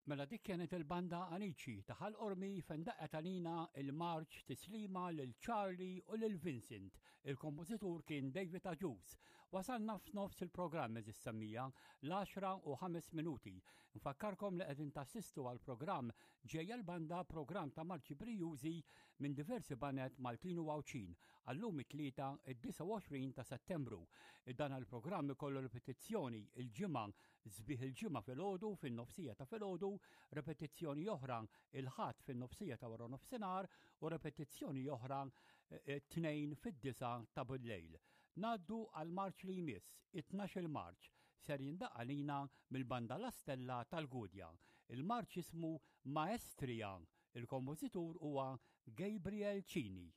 Mela dik kienet il-banda Anici ta' Ħal Qormi fejn daqqet għalina il-marċ Tislima lil Charlie u lil Vincent. Il-kompożitur kien David Agius. Wasalna f'nofs il-programm eżis semmija l-10 u 5 minuti. Nfakkarkom li qegħdin tassistu għal programm ġejja l-banda programm ta' marċi brijużi minn diversi baned Maltin u Għawdxin għallum it-tlieta id-29 ta' Settembru. Dan il-programm ikollu ripetizzjoni il-ġimgħa Sbieħ il-Ġimgħa filgħodu fin-nofsija ta' filgħodu, repetizzjoni oħra il-Ħadd fin-nofsija ta' wara nofsinhar u repetizzjoni oħra eh, t-Tnejn fid-disgħa ta' billejl. Ngħaddu għal marċ li jmiss, it-12 il-Marċ, ser jindaqq għalina mill-Banda La Stella tal-Gudja. Il-marċ jismu Maestria, il-kompożitur huwa Gabriel Cini.